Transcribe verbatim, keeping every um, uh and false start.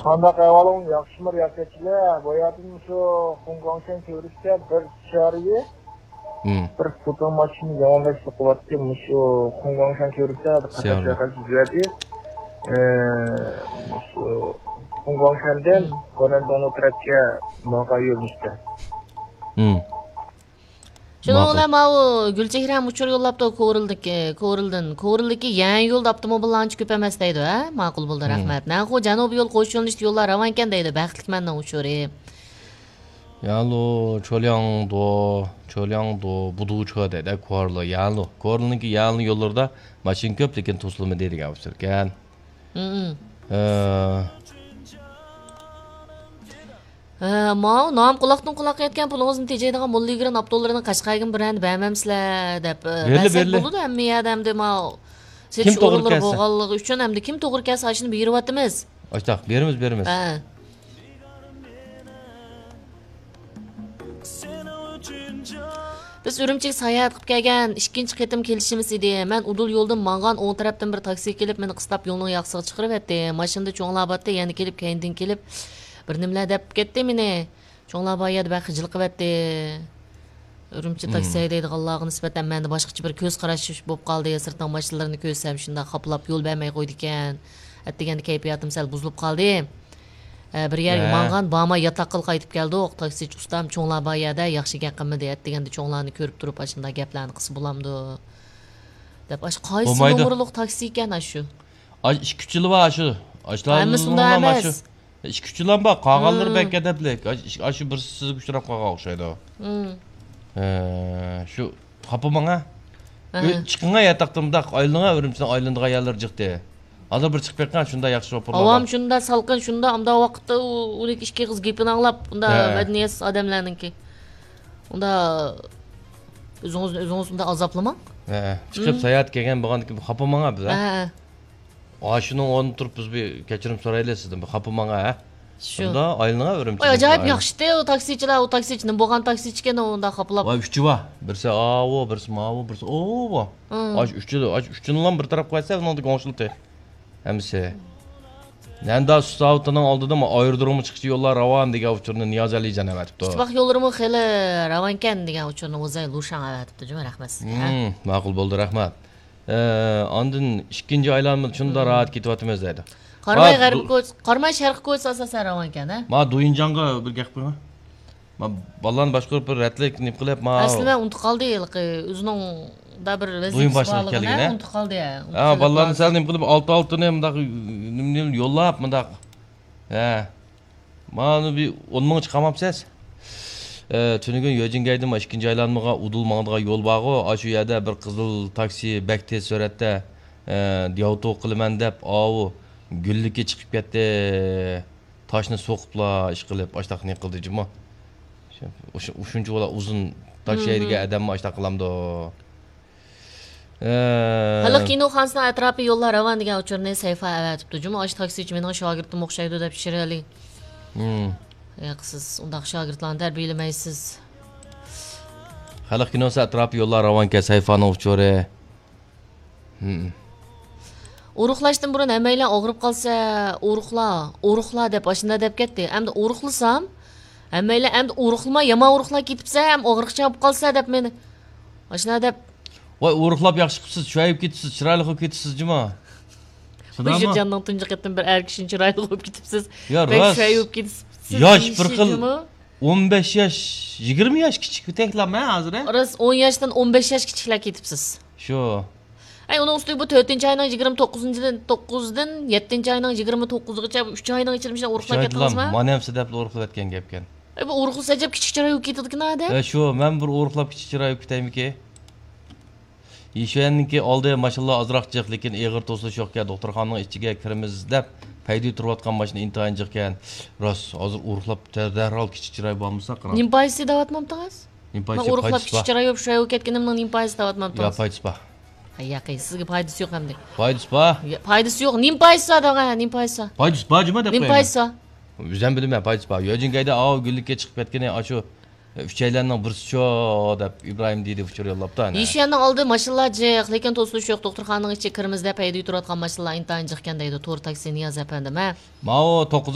قانداق ئەھۋالىڭ؟ ياخشىمۇ رىياسەتچىلەر؟ بۇ يەردىن شۇ خۇڭگاڭشەن كۆۋرۈكتە بىر چاريى، مم. بىر سوپۇر ماشىنا ياڭلاشلىق قىلىۋاتتى. مۇشۇ خۇڭگاڭشەن كۆۋرۈكتە بىر قاتار سىياۋلا. چايخانا تۈزۈۋەتتى. ئى، مۇشۇ خۇڭگاڭشەندىن مم. گومەندوڭ تەرەپكە ماڭغان يۆنىلىشتە. مم. شۇنىڭ ماقۇل. بىلەن ماۋۇ گۈلچېھرەم ئۇچۇر يوللاپتۇ كورلدىكى، كورلدىن. كورلدىكى يەنە يولدا ئاپتوموبىللار ئانچە كۆپ ئەمەس دەيدۇ، ھە؟ ماقۇل بولدى، مم. رەھمەت. نەنخۇ جەنۇبىي يول قوش يۆنىلىشتە يوللار راۋانكەن دەيدۇ، بەختلىك مەننىڭ ئۇچۇرى. يەنلۇ، چولياڭدۇ، چولياڭدۇ، بۇدۇچۇ دەيدۇ، كورلا، يەنلۇ. كورلىنىڭكى يەنلۇ يوللىرىدا ماشىنا كۆپ، لېكىن توسۇلمىدى دېگەن ئۇچۇركەن. مم. ئە، ھە، ماۋۇ نام قۇلاقتىن قۇلاققا يەتكەن پۇلىڭىزنى تېجەيدىغان موللا يۈگۈرەن ئاپتوللىرىنى قەشقەرگىمۇ بىرەرنى بەرمەمسىلەر دەپ، ئە، بېرىلە، بەرسەك بېرىلە. بولىدۇ ھەممە يەردە ئەمدى ماۋۇ. كىم سېتىش توغرا ئورۇنلىرى كەلسە. بولغانلىقى ئۈچۈن ئەمدى كىم توغرا كەلسە ئاشۇنى بېرىۋاتىمىز. ئاشتاق، بېرىمىز، بېرىمىز. ھە. بىز ئۈرۈمچىگە ساياھەت قىلىپ كەلگەن ئىككىنچى قېتىم كېلىشىمىز ئىدى. مەن ئۇدۇل يولدىن ماڭغان ئوڭ تەرەپتىن بىر تاكسى كېلىپ، مېنى قىستاپ يولنىڭ ياقىسىغا چىقىرىۋەتتى. ماشىنىدا چوڭلار بارتتى، يەنە كېلىپ، كەينىدىن كېلىپ، بىر نېمىلەر دەپ كەتتى مېنى. چوڭلار بار يەردە بەك خىجىل قىلىۋەتتى. ئۈرۈمچى مم. تاكسى ھەيدەيدىغانلارغا نىسبەتەن مەندە باشقىچە بىر كۆز قاراش بولۇپ قالدى. سىرتنىڭ ماشىنىلىرىنى كۆرسەم، شۇنداق خاپىلاپ يول بەرمەي قويىدىكەن. ئەتىگەندە كەيپىياتىم سەل بۇزۇلۇپ قالدى. ئە، بىر يەرگە ھە. ماڭغان، بارماي ياتاققىلا قايتىپ كەلدۇق. تاكسىچى ئۇستام، چوڭلار بار يەردە ياخشى گەپ قىلمىدى. ئەتىگەندە چوڭلارنى كۆرۈپ تۇرۇپ، ئاشۇنداق گەپلەرنى قىلسا بولامدۇ؟ دەپ، ئاشۇ قايسى بولمايدۇ. نومۇرلۇق تاكسى ئىكەن ئاشۇ؟ ئاش-، ئىككى ئۈچىلا بار ئاشۇ. ھەممىسى ئۇنداق ئەمەس. ئاشۇ ئىككى ئۈچىلا بار، قالغانلىرى مم. بەك ئەدەپلىك. ئاش-، ئاشۇ بىرسى سىزگە ئۇچراپ قالغان ئوخشايدۇ. مم. ھە، شۇ خاپا ماڭا. ئەھە. ئۆي-، چىقىڭا ياتاقتىن مۇنداق ئايلىنىڭا، ئۈرۈمچىنىڭ ئايلىنىدىغان يەرلىرى جىقتى. ھازىر بىر چىقىپ بېقىڭ، شۇنداق ياخشى شوپۇرلار بار. ھاۋام شۇنداق سالقىن، شۇنداق ئۇنداق ۋاقىتتا ئۇ، ئۇنىڭ ئىككى ئېغىز گېپىنى ئاڭلاپ، ئۇنداق ھە. مەدەنىيەتسىز ئادەملەرنىڭكى. ئۇنداق ئۆزىڭىزنى ئۆزىڭىز ئۇنداق ئازابلىماڭ. ھە، چىقىپ مم. ساياھەتكە كەلگەن بولغاندىكىن خاپا ماڭا بىز، ھە؟ ھە. ئاشۇنىڭ ئورنىدا تۇرۇپ بىز بىر كەچۈرۈم سورايلى سىزدىن، بىر خاپا ماڭا، ھە؟ شۇ. شۇنداق ئايلىنىڭ ئۈرۈمچىدىن. ئاي، ئاجايىپ ياخشىتى ئۇ تاكسىچىلار، ئۇ تاكسىچى نېمە بولغان تاكسىچىكەن ئۇنداق خاپىلاپ. ۋاي، ئۈچى بار. بىرسى ئاۋۇ، بىرسى ماۋۇ، بىرسى ئۇۋۇ. مم. ئاش ئۈچى، ئاش ئۈچىنىلا بىر تەرەپ قىلىۋەتسە، ئۇنىڭدىن كۆڭۈل تى. ھەممىسى. نەندا سۇساۋۇتىنىڭ ئالدىدا ئايرودرومغا چىققۇچە يوللار راۋان دېگەن ئۇچۇرنى نىياز ئەلىجان ئەۋەتىپتۇ. ئىتتىپاق يوللىرىمۇ خېلى راۋانكەن دېگەن ئۇچۇرنى ئۇزاي لۇشاڭ ئەۋەتىپتۇ، جۇمۇ، رەھمەت سىزگە. مم، ماقۇل بولدى، رەھمەت. ئە، ئاندىن ئىككىنچى ئايلانمىدا شۇنداق مم. راھەت كېتىۋاتىمىز دەيدۇ. قاراماي ما غەربىي دۇ- كوچىسى، قاراماي شەرقىي كوچىسى ئاساسەن راۋانكەن، ھە؟ ما دۇيىنجاڭغا بىر گەپ قىلىڭ. ما بالىلارنى باشقۇرۇپ بىر رەتلىك نېمە قىلىپ، ما ئەسلى مەن ئۇنتۇپ قالدى، ھېلىقى ئۆزىنىڭ دا بىر ۋەزىپىسى بارلىقىنى ئۇنتۇپ قالدى، ھە، ئۇنتۇپ ھە، قالدى بالىلارنى لازىم. سەل نېمە قىلىپ، ئالتە ئالتىنى مۇنداق نېمە، نېمە يوللاپ، مۇنداق. ھە. مانا بىر ئون مىڭ چىقارماپسىز. ئە، تۈنۈگۈن يۆجىنگەيدىن ئىككىنچى ئايلانمىغا ئۇدۇل ماڭىدىغان يول بارغۇ، ئاشۇ يەردە بىر قىزىل تاكسى بەك تېز سۈرئەتتە، ئە، دياۋتو قىلىمەن دەپ، ئاۋۇ گۈللۈككە چىقىپ كەتتى. تاشنى سوقۇپلا ئىش قىلىپ، ئاشتاق نېمە قىلدى جۇمۇ. شۇ-، شۇ-، شۇنچە ئۇزۇن تاش مم. يەيدىگەن ئادەممۇ ئاشتاق قىلامدۇ؟ ئە. خەلق كىنوخانىسىنىڭ ئەتراپى يوللار راۋان دېگەن ئۇچۇرنى سەيفا ئەۋەتىپتۇ. جۇمۇ ئاشۇ تاكسىچى مېنىڭ شاگىرتىم ئوخشايدۇ دەپ چىرايلىق. مم. ياق، سىز ئۇنداق شاگىرتلارنى تەربىيەلىمەيسىز. خەلق كىنوسى ئەتراپى يوللار راۋانكەن سەيفانىڭ ئۇچۇرى. مم. ئورۇقلاشتىن بۇرۇن ھەممەيلەن ئاغرىپ قالسا، ئورۇقلا، ئورۇقلا دەپ ئاشۇنداق دەپ كەتتى. ئەمدى ئورۇقلىسام، ھەممەيلەن ئەمدى ئورۇقلىما، يامان ئورۇقلاپ كېتىپسە، ھەم ئاغرىقچان بولۇپ قالسا دەپ مېنى ئاشۇنداق دەپ. ۋاي، ئورۇقلاپ ياخشى قىپسىز، چىرايلىق كېتىپسىز، چىرايلىق بولۇپ كېتىپسىز جۇما. شۇنداقمۇ؟ بۇ جاننىڭ تۇنجى قېتىم بىر ئەر كىشىنى چىرايلىق بولۇپ كېتىپسىز. يا، بەك راست. چىرايلىق بولۇپ كېتىپسىز. ياش بىر خىل. ئون بەش ياش، يىگىرمە ياش كىچىك تەكلەمە ھازىر، ھە؟ راست، ئون ياشتىن ئون بەش ياش كىچىكلەر كېتىپسىز. شۇ. ئەي، ئۇنىڭ ئۈستىگە بۇ تۆتىنچى ئاينىڭ يىگىرمە توققۇزىنچىدىن، توققۇزدىن يەتتىنچى ئاينىڭ يىگىرمە توققۇزىغىچە بۇ ئۈچ ئاينىڭ ئىچىدە مۇشۇنداق ئۇرۇقلاپ كەتتىڭىزمۇ؟ مانا ھەم سەدەپلىك ئۇرۇقلاپ كەتكەن گەپكەن. ئەي، بۇ ئۇرۇقلىسا ئەجەب كىچىك چىراي بولۇپ كېتىدىكەن ئادەم. ئە، شۇ، مەن بىر ئۇرۇقلاپ كىچىك چىراي بولۇپ كېتەيمىكى؟ يىشۈەننىڭكى ئالدى ماشىنىلار ئازراق جىق، لېكىن ئېغىر توسۇلۇش يوقكەن، دوختۇرخانىنىڭ ئىچىگە كىرىمىز دەپ پەيدە تۇرۇۋاتقان ماشىنا ئىنتايىن جىقكەن. راست، ھازىر ئۇرۇقلاپ دەرھال كىچىك چىراي بولمىسا قاراڭ. نېمە پايدىسى دەۋاتمامتىڭىز؟ نېمە پايدىسى؟ مەن ئۇرۇقلاپ پايدىسى كىچىك بار. چىراي بولۇپ شۇ ئايغا كەتكىنىمنىڭ نېمە پايدىسى دەۋاتمامتىڭىز؟ يا، پايدىسى بار. ھەي، ياقى، سىزگە پايدىسى يوق ئەمدى. پايدىسى بار. يا، پايدىسى يوق. نېمە پايدىسى بار دەڭە، نېمە پايدىسى بار؟ پايدىسى بار جۇما دەپ قويايمەن. نېمە پايدىسى بار؟ ئۆزۈم بىلىمەن، پايدىسى بار. يۆجىنگەيدە ئاۋۇ گۈللۈككە چىقىپ كەتكىنى ئاشۇ ئۈچەيلەننىڭ بىرسىچۇ دەپ ئىبراھىم دېدى ئۇچۇر يوللاپتۇ ئەنە. يىشۈەننىڭ ئالدى ماشىنىلار جىق، لېكىن توسۇلۇش يوق. دوختۇرخانىنىڭ ئىچىگە كىرىمىز دەپ ھەيدىگە تۇرۇۋاتقان ماشىنىلار ئىنتايىن جىقكەن دەيدۇ تور تاكسى نىياز ئەپەندىم، ھە؟ ماۋۇ توققۇز